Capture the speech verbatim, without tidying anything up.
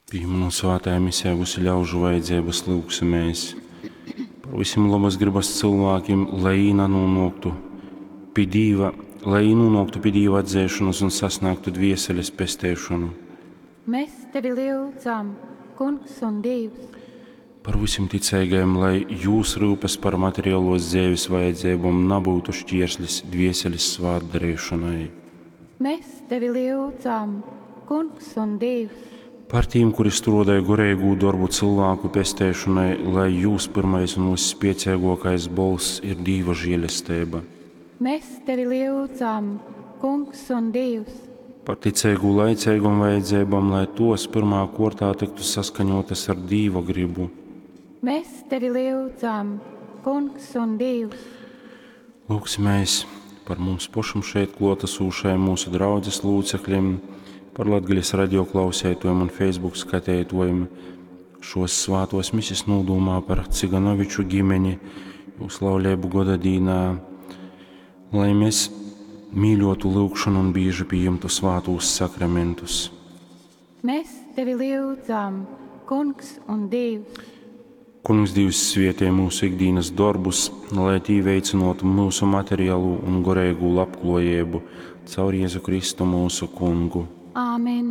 Pīminūt svātajā misē visu ļaužu vajadzības, lyugsimēs par visiem labas gribas cilvēkiem, lai jī nanonāktu pie Dīva, lai jī nonāktu pie Dīva atzēšanas un sasniegtu dvieseles pesteišanu. Mēs tevi lyudzam, Kungs un Dievs. Par visiem ticīgajiem, lai jūs rūpes par materiālos dzīves vajadzībām nebūtu šķierslis dvieseles svātdarīšanai. Mēs tevi lyudzam, Kungs un Dievs. Par tiem, kuri strādāja gorīgu darbu cilvēku pesteišanai, lai jūs pirmais un visspiecīgākais bolss ir Dīva žēlestība. Mēs tevi lyudzam, Kungs un Dievs. Par ticīgu laicīgām vajadzībām, lai tos pirmā kortā tiktu saskaņotas ar Dīva gribu. Mēs tevi lyudzam, Kungs un Dievs. Lūgsimies par mums pašam šeit klātesošajiem mūsu draudzes locekļiem, par Latgales radio klausētojiem un Facebook skatētojiem. Šos svātos misis nūdūmā par Ciganoviču ģimeni, jūs laulību goda dīnā, lai mēs mīļotu lūgšanu un bieži pieņemtu svātos sakramentus. Mēs tevi lyudzam, Kungs un Dievs. Kungs Dievs svietē mūsu ikdienas darbus, lai tī veicinotu mūsu materiālu un gorīgu labklājību caur Jēzu Kristu mūsu Kungu. Āmen.